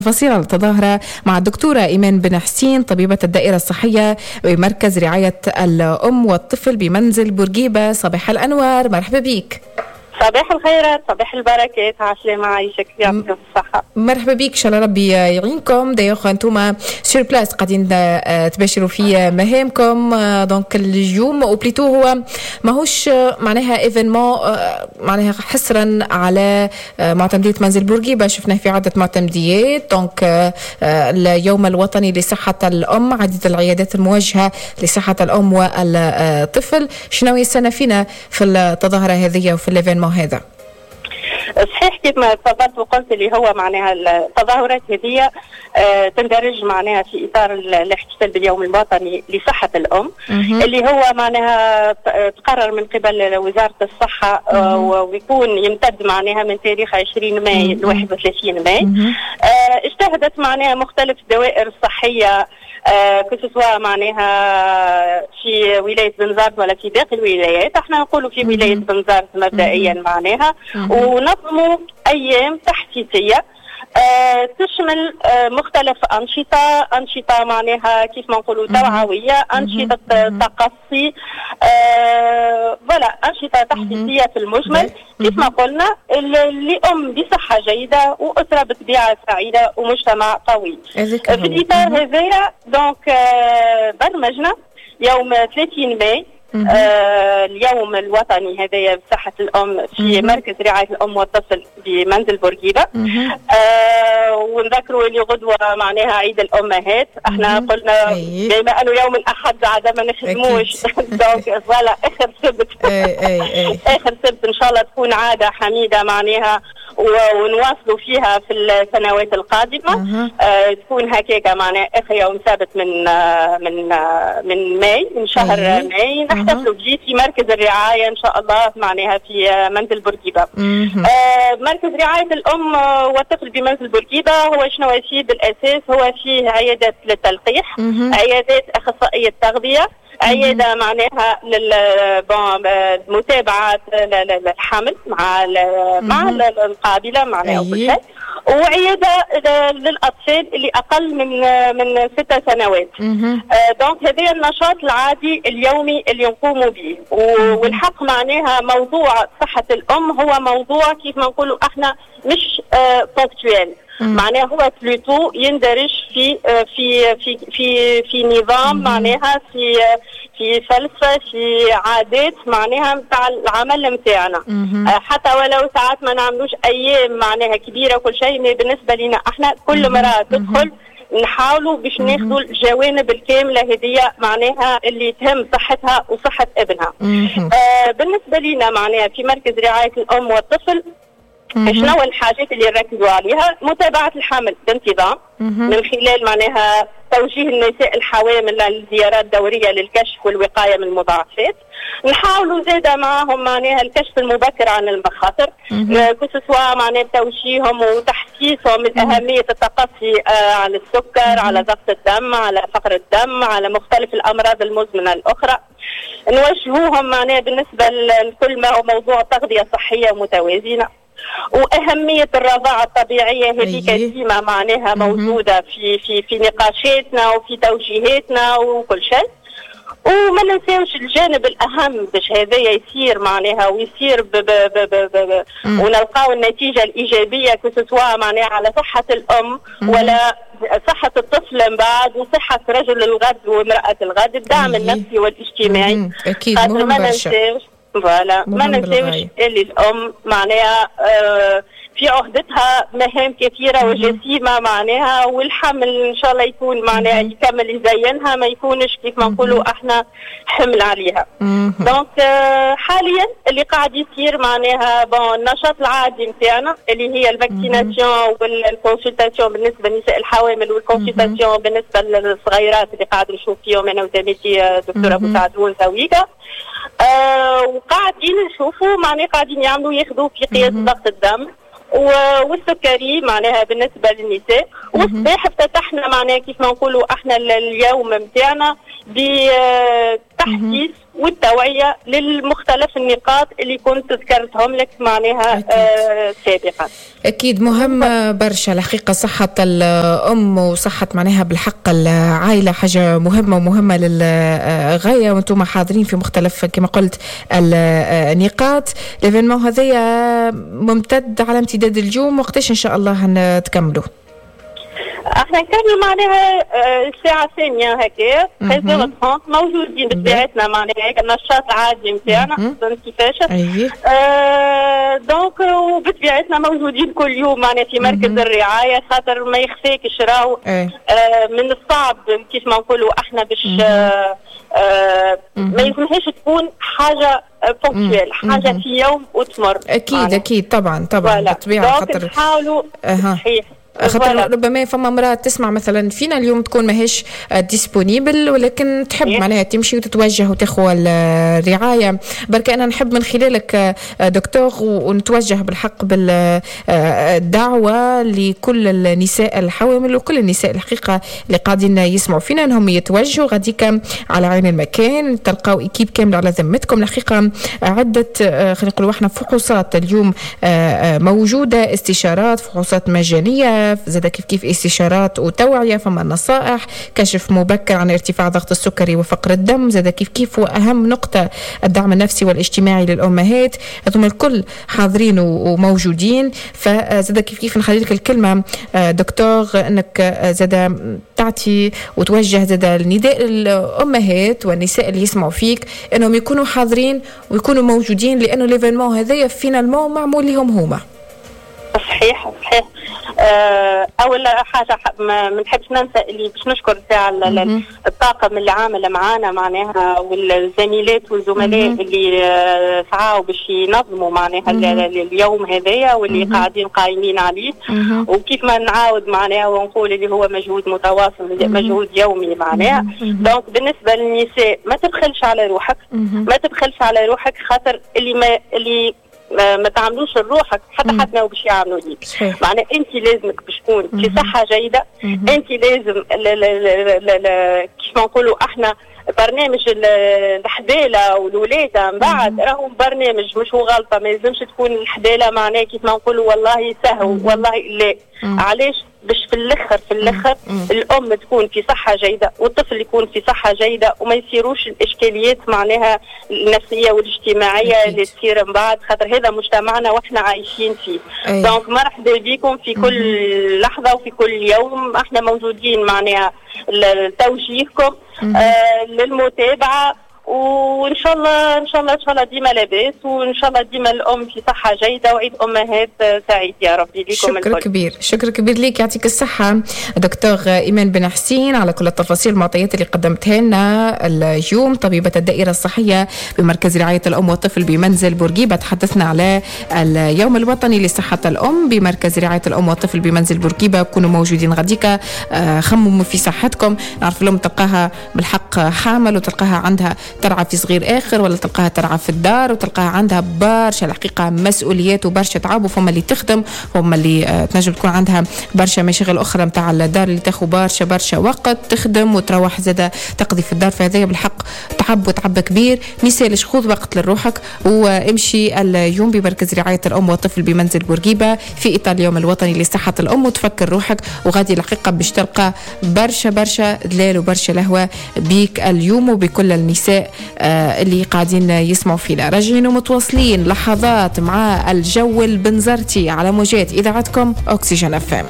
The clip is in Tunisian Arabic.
تفاصيل التظاهرة مع الدكتورة إيمان بن حسين، طبيبة الدائرة الصحية بمركز رعاية الأم والطفل بمنزل بورقيبة. صباح الأنوار، مرحبا بك. صباح الخيرات، صباح البركات، عسلامة، عايشك، يعطيك الصحة. مرحبا بك، ان شاء الله ربي يعينكم. d'ailleurs انتم sur place قاعدين تباشروا في مهامكم donc اليوم، ou plutôt هو ماهوش معناها événement معناها حصرا على معتمدية منزل بورقيبة، شفناه في عدة معتمديات. donc اليوم الوطني لصحة الأم، عديد العيادات الموجهة لصحة الأم والطفل. شنو يستنى فينا في التظاهرة هذه وفي l'événement هذا؟ صحيح، كيف ما تفضلت وقلت، اللي هو معناها التظاهرات هذه تندرج معناها في اطار الاحتفال باليوم الوطني لصحة الام، اللي هو معناها تقرر من قبل وزارة الصحة ويكون يمتد معناها من تاريخ 20 ماي ل 31 ماي. اجتهدت معناها مختلف الدوائر الصحيه، que ce soit معناها في ولاية بنزرت ولا في باقي الولايات، احنا نقولوا في ولاية بنزرت مبدئيا معناها، ونظموا ايام تحسيسيه تشمل مختلف أنشطة معناها كيف ما نقولوا توعوية، أنشطة تقصي، voilà، أنشطة تحسيسية في المجمل، كيف ما قلنا، لأم بصحة جيدة وأسرة بطبيعة سعيدة ومجتمع قوي. في الإطار هذايا donc برمجنا يوم 30 ماي اليوم الوطني هذايا بصحة الأم في مركز رعاية الأم والطفل بمنزل بورقيبة. ونذكروا اللي غدوة معناها عيد الأمهات. احنا قلنا بما أنه يوم الأحد عادة ما نخدموش، donc voilà، آخر سبت، آخر سبت، إن شاء الله تكون عادة حميدة معناها ونواصلوا فيها في السنوات القادمة، تكون هكاك معناها آخر يوم سبت من ماي، من شهر ماي، نحتفلوا به في مركز الرعاية إن شاء الله معناها في منزل بورقيبة. مركز رعاية الأم والطفل بمنزل بورقيبة هو شنو فيه بالأساس؟ هو فيه عيادات للتلقيح، عيادات أخصائية تغذية، عيادة معناها لل bon متابعه الحمل مع القابلة معناها وكل شيء، وعياده للاطفال اللي اقل من 6 سنوات. Donc هذا النشاط العادي اليومي اللي نقوموا به. والحق معناها موضوع صحة الام هو موضوع كيف ما نقولوا احنا مش ponctuel، معناها هو plutôt يندرج في نظام، معناها في فلسفه، في عادات معناها نتاع العمل نتاعنا. حتى ولو ساعات ما نعملوش ايام معناها كبيرة وكل شيء، mais بالنسبة لنا احنا كل مراة تدخل نحاولوا باش ناخذوا الجوانب الكاملة هذه معناها اللي تهم صحتها وصحة ابنها. بالنسبة لنا معناها في مركز رعاية الام والطفل، شنو الحاجات اللي نركزوا عليها؟ متابعة الحمل بانتظام من خلال معناها توجيه النساء الحوامل للزيارات الدورية للكشف والوقاية من المضاعفات. نحاولوا زادة معهم معناها الكشف المبكر عن المخاطر، que ce soit معناها توجيههم وتحسيسهم من أهمية التقصي على السكر، على ضغط الدم، على فقر الدم، على مختلف الأمراض المزمنة الأخرى. نوجهوهم معناها بالنسبة لكل ما هو موضوع تغذية صحية متوازنة واهمية الرضاعة الطبيعيه، هذيك ديما معناها موجودة في نقاشاتنا وفي توجيهاتنا وكل شيء. وما ننساوش الجانب الاهم باش هذا يصير معناها ويصير ب ب ب ب ب ونلقاو النتيجة الايجابيه، que ce soit معناها على صحة الام ولا صحة الطفل من بعد وصحة رجل الغد وامراة الغد، الدعم النفسي والاجتماعي. اكيد، مهم. ما ننساوش، voilà، ما ننساوش اللي الام معناها في عهدتها مهام كثيرة وجسيمة معناها، والحمل إن شاء الله يكون معناها يكمل يزينها، ما يكونش كيف ما نقولوا احنا حمل عليها. donc حاليا اللي قاعد يصير معناها bon النشاط العادي نتاعنا اللي هي ال vaccination وال consultation بالنسبة للنساء الحوامل وال consultation بالنسبة للصغيرات اللي قاعد نشوف فيهم انا وزميلتي دكتورة ابو سعدون تويكا. وقاعدين نشوفوا معناها قاعدين يعملوا ياخذوا في قياس ضغط الدم والسكري معناها بالنسبة للنساء. والصباح افتتحنا معناها كيف ما نقولوا احنا اليوم نتاعنا. بتحسيس والتوعية للمختلف النقاط اللي كنت ذكرتهم لك معناها سابقا. أكيد مهم برشا الحقيقة صحة الأم وصحة معناها بالحق العائلة حاجة مهمة ومهمة للغاية، وأنتم حاضرين في مختلف كما قلت النقاط. l'événement هذايا ممتد على امتداد اليوم، وقتاش إن شاء الله نتكملوا؟ احنا نكملوا معناها الساعة 2 هكا 13 موجودين بطبيعتنا معناها هيك النشاط العادي نتاعنا، فهمت كيفاش؟ donc وبطبيعتنا موجودين كل يوم معناها في مركز الرعاية، خاطر ما يخفاكش راهو من الصعب كيف ما نقولوا احنا باش ما يلزمهاش تكون حاجة ponctuelle، حاجة في يوم وتمر. أكيد معناها. أكيد طبعا طبعا بالطبيعة، خاطر نحاولوا صحيح، خاطر ربما فما امرأة تسمع مثلا فينا اليوم تكون ماهيش disponible، ولكن تحب معناها تمشي وتتوجه وتاخذ الرعاية. برك أنا نحب من خلالك دكتور ونتوجه بالحق بالدعوة لكل النساء الحوامل وكل النساء الحقيقة اللي قاعدين يسمعوا فينا انهم يتوجهوا غاديك على عين المكان، تلقاو équipe كاملة على ذمتكم. الحقيقة عدة خلينا نقولوا احنا فحوصات اليوم موجودة، استشارات، فحوصات مجانية، زاد كيف كيف استشارات وتوعية، فما نصائح، كشف مبكر عن ارتفاع ضغط السكري وفقر الدم، زاد كيف كيف وأهم نقطة الدعم النفسي والاجتماعي للأمهات. هذوما الكل حاضرين وموجودين. فزاد كيف كيف نخلي لك الكلمة دكتور أنك زاد تعطي وتوجه زاد النداء للأمهات والنساء اللي يسمعوا فيك أنهم يكونوا حاضرين ويكونوا موجودين، لأنه l'événement هذايا finalement معمول لهم هما. صحيح صحيح. اول حاجة ما نحبش ننسى اللي باش نشكر ساعة الطاقم اللي عامل معانا معناها، والزميلات والزملاء اللي سعاوا باش ينظموا معناها اليوم هذايا واللي قاعدين قايمين عليه. وكيف ما نعاود معناها ونقول اللي هو مجهود متواصل، مجهود يومي معناها. donc بالنسبة للنساء ما تبخلش على روحك، ما تبخلش على روحك، خاطر اللي ما تعملوش لروحك حتى حد ما باش يعملوا ليك. معناها انت لازمك باش تكون في صحة جيدة، انت لازم كيف ما نقولوا احنا برنامج الحباله والولاده من بعد راهو برنامج مش هو غلطه، ما يلزمش تكون الحباله معناها كيف ما نقولوا والله سهو والله لا. علاش؟ باش في الاخر الام تكون في صحة جيدة والطفل يكون في صحة جيدة، وما يصيروش الاشكاليات معناها النفسية والاجتماعية اللي تصير من بعد، خاطر هذا مجتمعنا واحنا عايشين فيه. donc مرحبا بكم في كل لحظة وفي كل يوم، احنا موجودين معناها لتوجيهكم للمتابعة، وان شاء الله ان شاء الله ان شاء الله ديما لاباس، وان شاء الله ديما الام في صحة جيدة، وعيد امهات سعيد يا ربي لكم. شكر كبير، شكر كبير ليك، يعطيك الصحة دكتور ايمان بن حسين على كل التفاصيل والمعطيات اللي قدمتها لنا اليوم، طبيبه الدائرة الصحية بمركز رعاية الام والطفل بمنزل بورقيبة. تحدثنا على اليوم الوطني لصحة الام بمركز رعاية الام والطفل بمنزل بورقيبة. كونوا موجودين غاديكا، خمموا في صحتكم. نعرف الام تلقاها بالحق حامل وتلقاها عندها ترعى في صغير آخر، ولا تلقاها ترعى في الدار، وتلقاها عندها برشا الحقيقة مسؤوليات وبرشا تعب، وفما اللي تخدم، وفما اللي تنجم تكون عندها برشا مشاغل أخرى متاع الدار اللي تاخو برشا برشا وقت، تخدم وتروح زادة تقضي في الدار. فهذا بالحق تعب وتعب كبير. مثالش خذ وقت لروحك وامشي اليوم بمركز رعاية الأم والطفل بمنزل بورقيبة في إطار اليوم الوطني لصحة الأم، وتفكر روحك وغادي الحقيقة باش تلقى برشا برشا دلال وبرشا لهوة بيك اليوم وبكل النساء اللي قاعدين يسمعوا فينا. راجعين ومتواصلين لحظات مع الجو البنزرتي على موجات إذاعتكم أكسجين FM.